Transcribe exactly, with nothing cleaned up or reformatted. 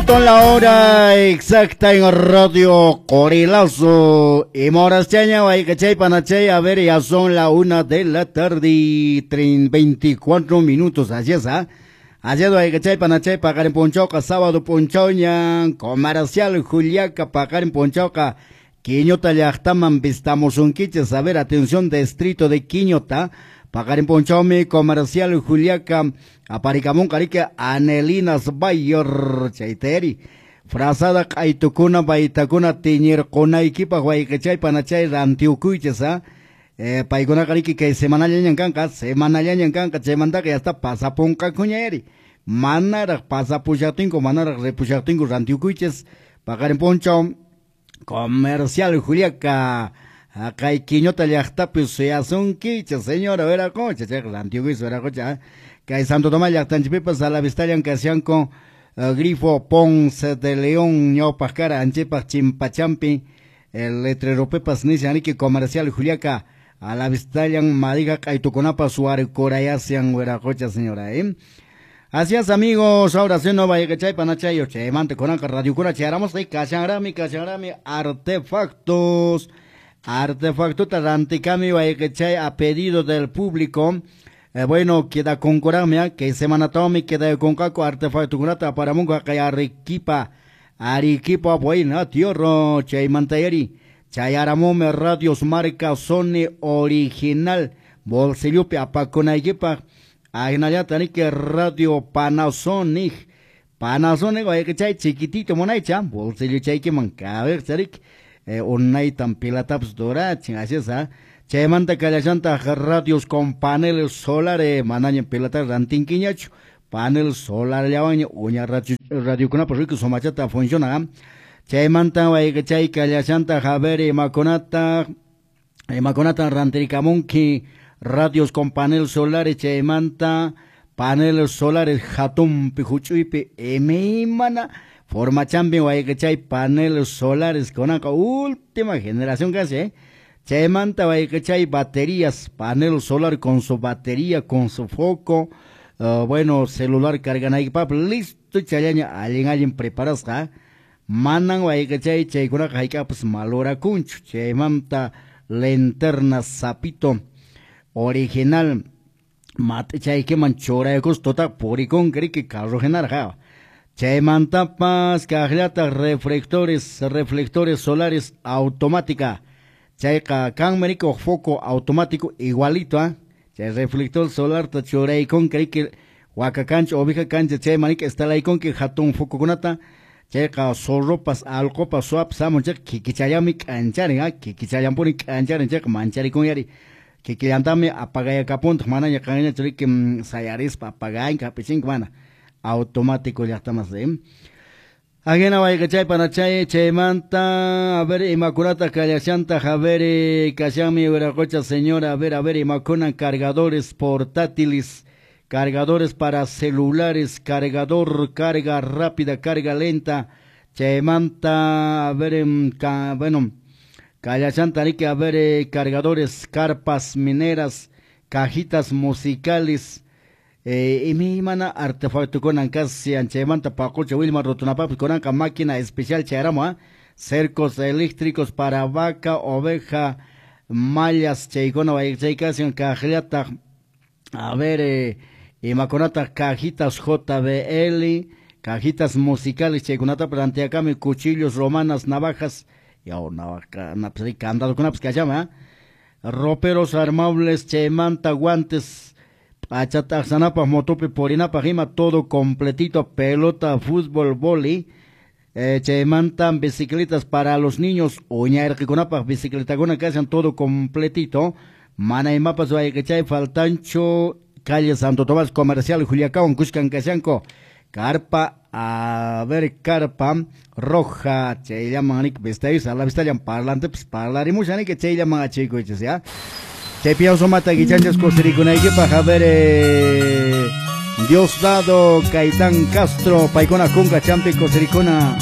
Punto la hora exacta en Radio Corilazo. Y Morascheña, Guaycachay, Panachay, a ver, ya son la una de la tarde y veinticuatro minutos. Así es, ¿ah? Así es, Guaycachay, Panachay, Paqarin p'unchawqa, sábado p'unchawña, Comercial Juliaca, paqarin p'unchawqa, Quiñota llaqtaman vistamusunkichis. A ver, atención, distrito de Quiñota. Paqarin p'unchawmi Comercial Juliaca aparikamunqa riki Anelinas Bayor chayteri frazada q'aytukuna baytakuna tiñirqunaykipaq wayqichay panachay rantiukuychis ha eh, paykunaqa riki kay semanallañan kanqa semanallañan kanqa chaymantaqa ya está pasapunqakuña manaraq pasapushaqtinku manaraq ripushaqtinku rantiukuychis paqarin p'unchaw Comercial Juliaca kay Quiñota llaqtapi suyasunkichis señora Veracocha chayqa rantiukuychis Veracocha kay Santo Tomás llaqtanchikpipas a la vistallan kashanku uh, grifo Ponce de León ñawpaq kara anchipaq chimpachampi el letreropipas nishan riki Comercial Juliaca a la vistallan madija q'aytukunapas warkurayasyan Veracocha señora eh. Así es, amigos, ahora sí no vaya que chay panachayo chaymanta kunanqa radiokuna chayramos kay kashanrami kashanrami artefactos artefactota rantikami wayqichay a pedido del público. Eh, bueno, queda concurarme, que semana tomi queda concaco artefacto aparamunqa kay Arequipa, Arequipa buena tierra chaymantayari chayaramume radios marca Sony original bolsillupi apakunaykipaq ahinallata riki radio Panasonic Panasonic wayqichay chiquitito munaycha bolsillo chaykiman kabiqcha riki eh, unaytan pilatapas durachin así es, ¿ah? Chaymanta kallashantaq radios con paneles solares manaña pilata rantinkiñachu panel solar llawanña uña radiokunapas riki sumachata funciona chaymanta wayqichay kallashantaq a ver imakunata imakunata rantirikamunki radios con paneles solares chaymanta paneles solares hatunpi huch'uypi imaymana formachampi wayqichay paneles solares kunanqa última generación casi eh chaymanta wayqichay baterías panel solar con su batería con su foco uh, bueno celular carganaykipaq listo chayaña allin allin preparasqa manan wayqichay chaykunaqa hayk'apas malorakunchu chaymanta linterna sapito original mat'ichaykiman churaykus tuta purikunki riki carro hinarqa chaymantapas kaqllataq reflectores reflectores solares automática chayqa kanmi riki huk foco automático igualito ah chay reflector solarta churaykunki riki waka kancha oveja kancha chayman riki instalaykunki hatun focokunata chayqa zorropas allqupas suwapas hamun chayqa kikichallami k'ancharin ah kikichallanpuni k'ancharin chayqa mancharikunyari kikillantami apagayakapuntaq manaña qanñachu riki sayarispa apaganki hap'ichinki mana automático llaqtamas eh Ajena wayqichay panachay chaymanta a ver imakunata kallashantaq a ver kashanmi Viracocha señora a ver a ver imakuna cargadores portátiles cargadores para celulares cargador carga rápida carga lenta chaymanta a ver ka, bueno kallashanta riki a ver eh, cargadores carpas mineras cajitas musicales Eh, imaymana artefactokunan kashan chaymanta paqucha willma rutunapaqpas kunanqa máquina especial chayaramu ¿ah? Cercos eléctricos para vaca, oveja, mallas chaykuna chay kashan kaqllataq a ver eh, imakunataq cajitas J B L cajitas musicales chaykunata planteakami cuchillos romanas navajas yaw navaja candadokunapas kashami ¿ah? Roperos armables chaymanta guantes p'achat'aqsanapaq motopi purinapaq ima todo completito pelota fútbol vóley eh, chaymanta bicicletas para los niños uña irqikunapaq bicicletakuna kashan todo completito mana imapas wayqichay faltanchu calle Santo Tomás Comercial Juliacawan kushkan kashanku carpa a ver carpa roja chayllaman riki vistayus a la vistallan parlantepas parlarimushan riki chayllaman achikuychis ya Chaypiyan sumata kichanchis kusirikunaykipaq a ver eh, Diosdado Caitán Castro paykuna kunka champi kusirikuna.